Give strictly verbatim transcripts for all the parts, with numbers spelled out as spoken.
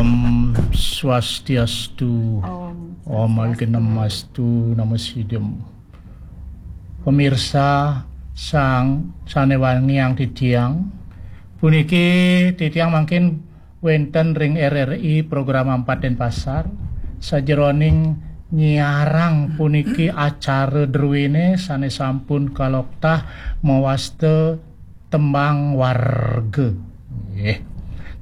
Om Swastiastu. Om Swastiastu. Om Awignamastu Namo Sidham. Pemirsa sang sane wangiang titiang, puniki titiang mangkin wenten ring R R I Program Empat Denpasar, sajeroning nyiarang puniki acara druene sane sampun kaloktah mawasta tembang warga. Nggih.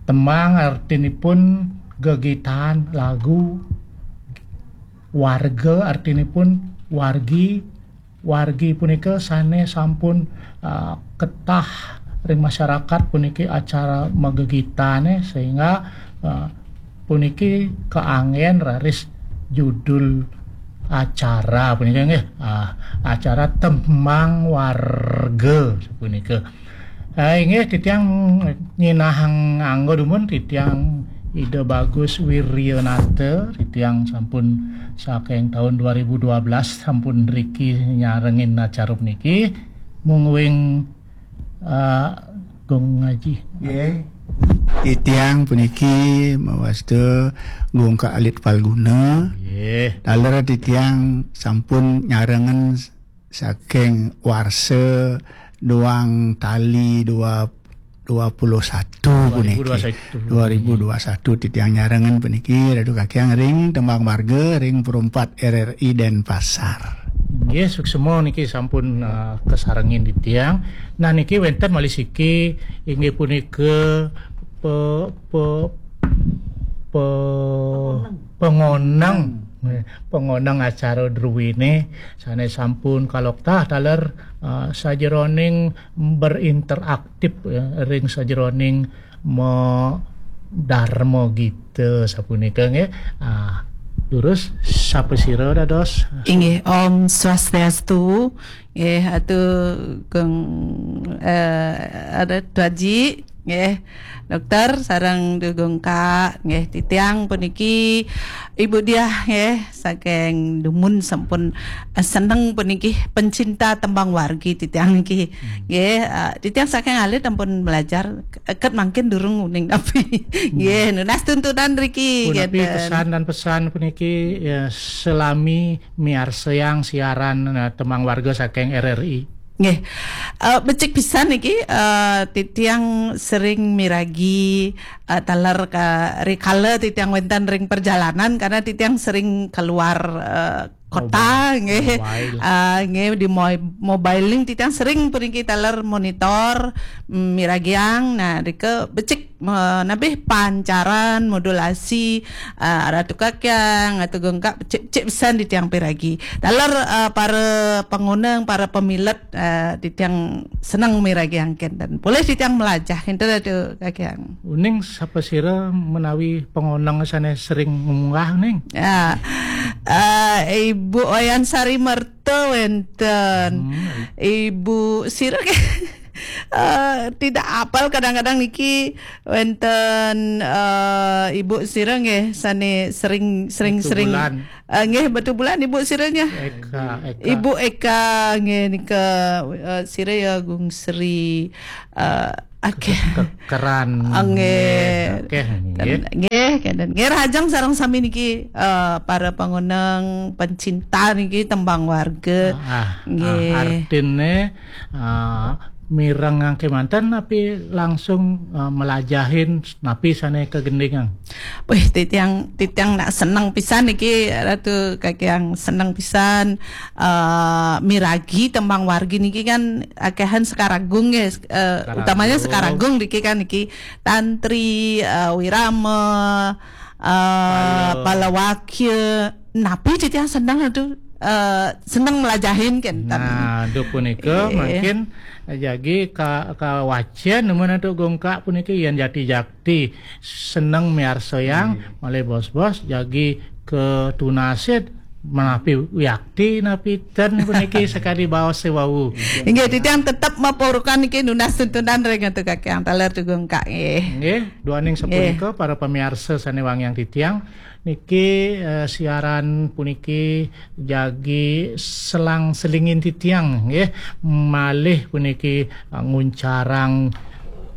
Tembang artinipun gegitan lagu, warga artinipun wargi, wargi punika sane sampun, ah, ketah ring masyarakat puniki acara magegitane, sehingga, ah, puniki kaanggen raris judul acara punika nggih, ah, acara tembang warga punika. Ah, inggih titiang nyinahang angga dumun titiang Ida Bagus Wiryanata, titiang sampun saking taun dua ribu dua belas sampun riki nyarengin acara puniki. Mungguing, ah, Gung Aji. Nggih. Titiang puniki mawasta Gung Ka Alit Palguna. Nggih. Taler titiang sampun nyarengen saking warsa duang tali dua, dua puluh satu puniki. Dua ribu dua satu. Dua ribu dua satu titiang nyarengen puniki, Ratu Kakiang ring tembang warga ring Perumpat R R I Denpasar. Nggih, suksema niki sampun, eh, kasarengin titiang. Nah, niki wenten malih siki inggih punika pe-, pe-, pe-, pengoneng. Nggih, pengoneng acara druene sane sampun kaloktah taler, eh, sajeroning berinteraktif, ya, ring sajeroning ma-, Dharma Gita sapunika nggih. Ah, durus sapa sira dados? Inggih, Om Swastiastu. Nggih, Atu Gung, eh, ada Tuaji, nggih, Dokter sareng Gung Ka, nggih, titiang puniki Ibu Diah, nggih, saking dumun sampun, eh, seneng puniki pencinta tembang wargi titiang niki. Hmm. Nggih, eh, titiang saking alit ampun belajar, eh, ket mangkin durung uning napi. Hmm. Nggih, nunas tuntunan riki, punapi ngeten. Pesan dan pesan puniki, ya, selami miarsayang siaran, eh, tembang warga saking R R I. Nggih. Eh, becik pisan niki, eh, titiang sering miragi, eh, taler ka, rikala titiang wenten ring perjalanan karena titiang sering keluar, eh, kota, mobile, nggih. Mobile. Ah, nggih, di mo-, mobile link titiang sering puniki taler monitor, mm, miragiang. Nah, rika becik, eh, nabih pancaran, modulasi, eh, Ratu Kakiang, Atu Gung Ka, becik-becik pisan titiang piragi. Taler, eh, para pangoneng, para pamilet, eh, titiang seneng miragiang kenten. Polih titiang melajah kenten Ratu Kakiang. Uning sapa sira menawi pangoneng sane sering munggah ning? Ya. Eh, Ibu Oyan Sari Merta wenten. Hmm. Ibu sira ke-, eh, tidak apal kadang-kadang niki wenten, eh, Ibu sira nggih sane sering, sering, Batu sering. Bulan. Eh, nggih, Batu Bulan Ibu sira nya. Eka, Eka. Ibu Eka nggih nika, eh, sira ya Gung Sri, eh, akeh. Ke-, keran. Ah, nggih. Nggih, akeh nggih. Ten-, nggih, kenten. Nggih, rahajeng sareng sami niki, eh, para pangoneng pencinta niki tembang warga. Ah, ah, nggih. Ah, artine, ah, mireng kemanten napi langsung, ah, melajahin napi sane kagendingang? Wih, titiang, titiang nak seneng pisan niki, Ratu Kakiang, seneng pisan, eh, miragi tembang wargi niki kan akehan Sekaragung ya, eh, utamanya Sekaragung niki kan niki Tantri, eh, Wirama, eh, Pala. Palawakya. Napi titiang seneng tu, eh, seneng melajahin kenten. Nah, tu punika. Eh. Mungkin jagi ka, kawacen nemen tu Gung Ka puniki yen jati-jati seneng miarsayang, hmm, malih bos-bos jagi ketunasit menapi wiakti napi ten puniki sakadi baos sewau. Inggih, titiang tetep mapurukan niki nunas tuntunan ring Ratu Kakiang taler tu Gung Ka nggih. Nggih, duaning sapunika, nggih, para pamiarsa sane wangiang titiang, niki, eh, siaran puniki jagi selang-selingin titiang nggih, malih puniki, eh, nguncarang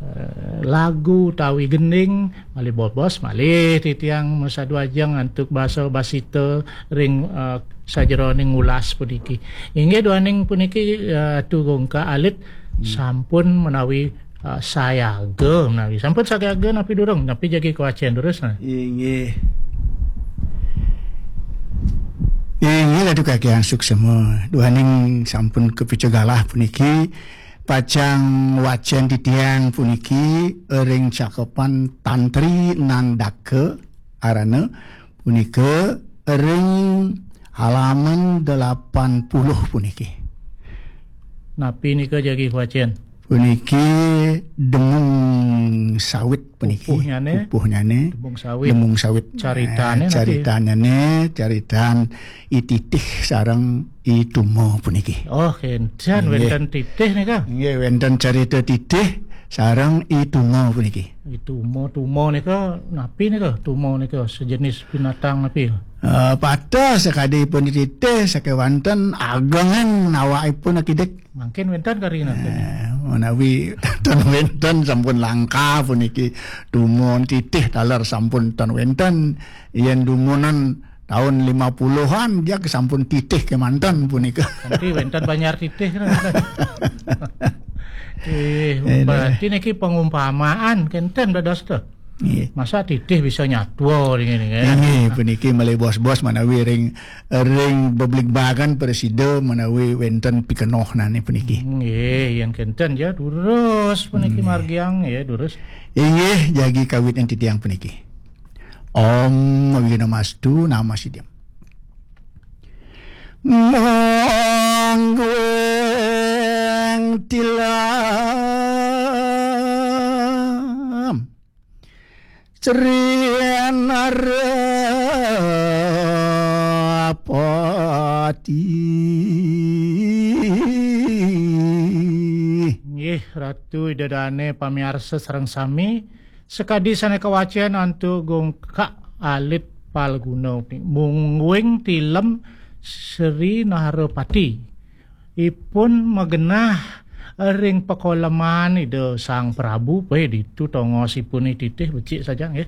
eh, lagu utawi gending, malih bobos, malih titiang masadu ajeng antuk basa basita ring, eh, sajeroning ulas puniki. Inggih duaning puniki, eh, Atu Gungkak alit sampun menawi, eh, sayaga menawi. Sampun sayaga napi durung? Napi jagi kawacen terus, nah? Inggih. Inggih Atu Kakang suksema. Duaning sampun kapica galah puniki, pacang wacen titiang puniki ring cakepan Tantri Nandaka arana punika ring halaman delapan puluh puniki. Napi nika jagi kawacen? Puniki Demung Sawit puniki. Pupuhnyane? Pupuhnyane. Demung Sawit. Demung Sawit. Caritane Eh, napi? Caritanane, caritan I Titih sareng I Tuma puniki. Oh, kenten. Inggih. Wenten Titih nika. Inggih, wenten carita Titih sareng I Tuma puniki. I Tuma, Tuma nika napi nika? Tuma nika sejenis binatang napi? Eh, pateh sakadi pun Titih, sakewanten agengan awakipun akidik. Mangkin wenten kari napi? Eh, menawi ten wenten sampun langka puniki. Tuma Titih taler sampun ten wenten. Yen dumunan tahun lima puluhan, dia sampun Titih kemanten punika. Nanti wenten Banjar Titih, kan? Eh, eh, berarti niki pengumpamaan kenten dados to. Nggih. Masa Titih bisa nyatwa ring ini, kan? Inggih, puniki malih bos-bos manawi ring, ring bebligbagan presida manawi wenten pikenohnane puniki. Nggih, yen kenten ya durus puniki. Nggih. Margiang ya durus. Inggih, jagi kawit ing titiang puniki. Om Awighnamastu Namasidham. Mangguing tilam Sri Narapati. Nggih, Ratu Ida Dane pamiarsa sareng sami, sakadi sane kawacen antuk Gungkak alit Palguna, mungguing tilem Sri Narapati. Ipun magenah ring pakoleman Ida Sang Prabu, pe ditu tongosipun I Titih becik saja, nggih.